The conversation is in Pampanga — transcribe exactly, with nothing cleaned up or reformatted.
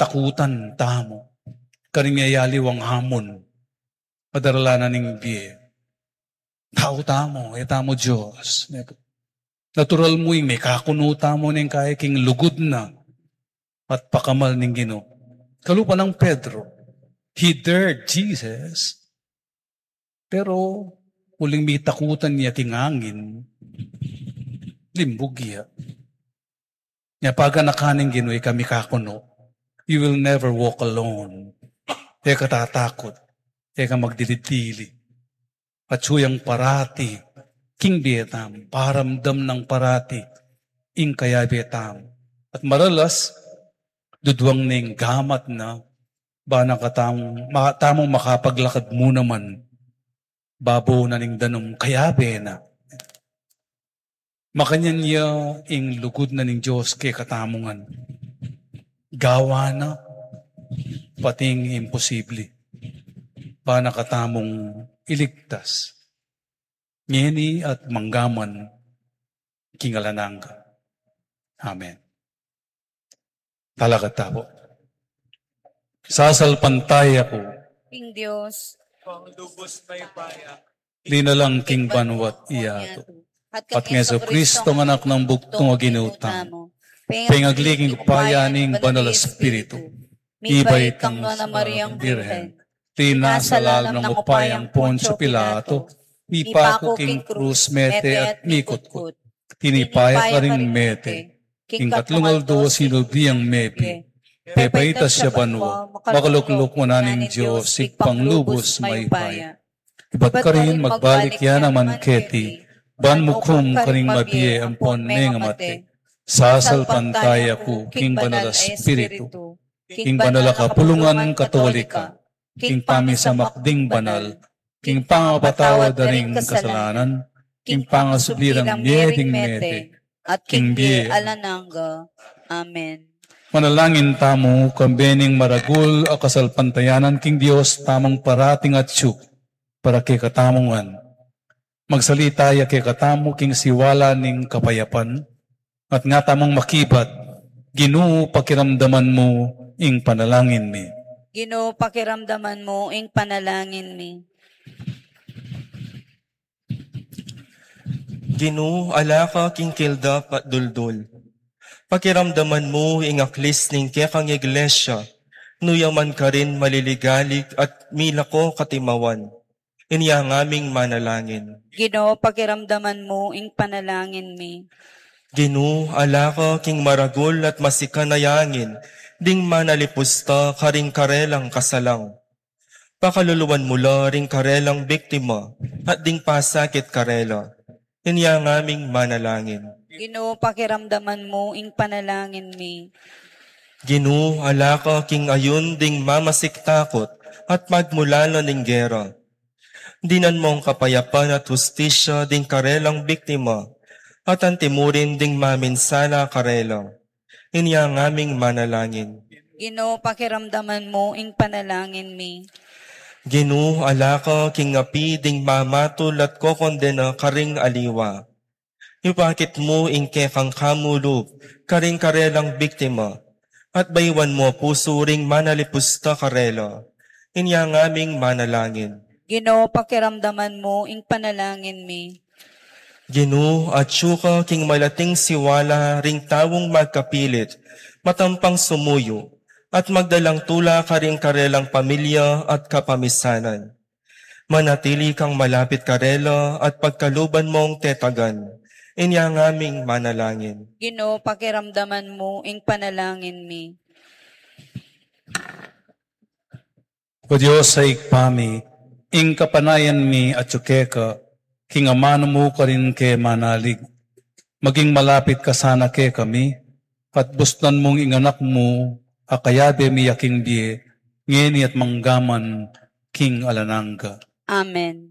takutan tamu. Karin miyayaliwang hamon, padaralan na ning bie. Tau tamu, e tamu Dios. Natural mu ing mekakunu tamu ning kaya king lugud na at pakamal ning Ginu. Kalupa nang Pedro, he dared Jesus, pero uling mitakutan ya king angin, limbug ya. Nya paganakan ning Ginu, e ka mekakunu. You will never walk alone. E ka tatakut. E ka magdilid-dili. Atsu yang parati king bie tamu, paramdam nang parati ing kayabe tamu. At maralas, duduang ning gamat na, bana ka tamung, ma-, tamung makapaglakad mu naman, babo na ning danum, kayabe na. Makanyan ya ing lugud na ning Dios kekatamu ngan. Gawa na pati ing imposible. Bana ka tamung iligtas ngeni at manggaman king alang angga. Amen. Talakad tamu. Sasalpantaya ku king Dios, linalang king banwa't yatu, at kang Jesucristo, Anak nang bugtung a Ginu tamu, pengagli king upaya ning Banal a Espiritu, mibait kang Nuan a Mariang Birhen, linasa lalam ning upayang Poncio Pilato, mipaku king krus, mete at mikutkut, tinipa ya karing mete, king katlung aldo sinubli yang mebie, pepaitas ya banwa, makalukluk wanan ning Dios Ibpang lubus mayupaya. Ibat karin magbalik ya naman keti, ban mukum karing mabie ampon mengamate. Sasalpantaya ku king Banal a Espiritu, king banal a kapulungan Katolika, king pamisamak ding banal, king pangapatawad da ring kasalanan, king pangasubli rang mie ding mete, at king bie alang angga. Amen. Manalangin tamu, kambe ning maragul a kasalpantayanan king Dios tamung parating atsu para kekatamu ngan. Magsalita ya kekatamu king siwala ning kapayapan, at nga tamung makibat, Ginu, pakiramdaman mu ing panalangin mi. Ginu, pakiramdaman mu ing panalangin mi. Ginu, ala ka king kilda at duldul. Pakiramdaman mu ing aklis ning kekang iglesia, nu ya man karin maliligalig at milako katimawan. Inya ngaming manalangin. Ginu, pakiramdaman mu ing panalangin mi. Ginu, ala ka king maragul at masikan a yangin ding manalipusta karing karelang kasalang. Pakaluluan mu la ring karelang biktima at ding pasakit karela. Inya ngaming manalangin. Ginu, pakiramdaman mu ing panalangin mi. Ginu, ala ka king ayun ding mamasik takut at magmulala ning gera. Dinan mung kapayapan at hustisya ding karelang biktima, at antimurin ding maminsala karela. Inya ngaming manalangin. Ginu, pakiramdaman mu ing panalangin mi. Ginu, ala ka king api ding mamatul at kokondena karing aliwa. Ipakit mu ing kekang kamulub karing karelang biktima, at bayuan mu a pusu ring manalipusta karela. Inya ngaming manalangin. Ginu, pakiramdaman mu ing panalangin mi. Ginu, atsu ka king malating siwala ring taung magkapilit, matampang sumuyu, at magdalang tula karing karelang pamilya at kapamisanan. Manatili kang malapit karela at pagkaluban mung tetagan. Inya ngaming manalangin. Ginu, pakiramdaman mu ing panalangin mi. O Dios a Ibpa mi, ing kapanayan mi atsu keka, king amanu mu karin ke manalig. Maging malapit ka sana kekami, at busnan mung ing Anak mu a kayabe mi a king bie, ngeni at manggaman king alang angga. Amen.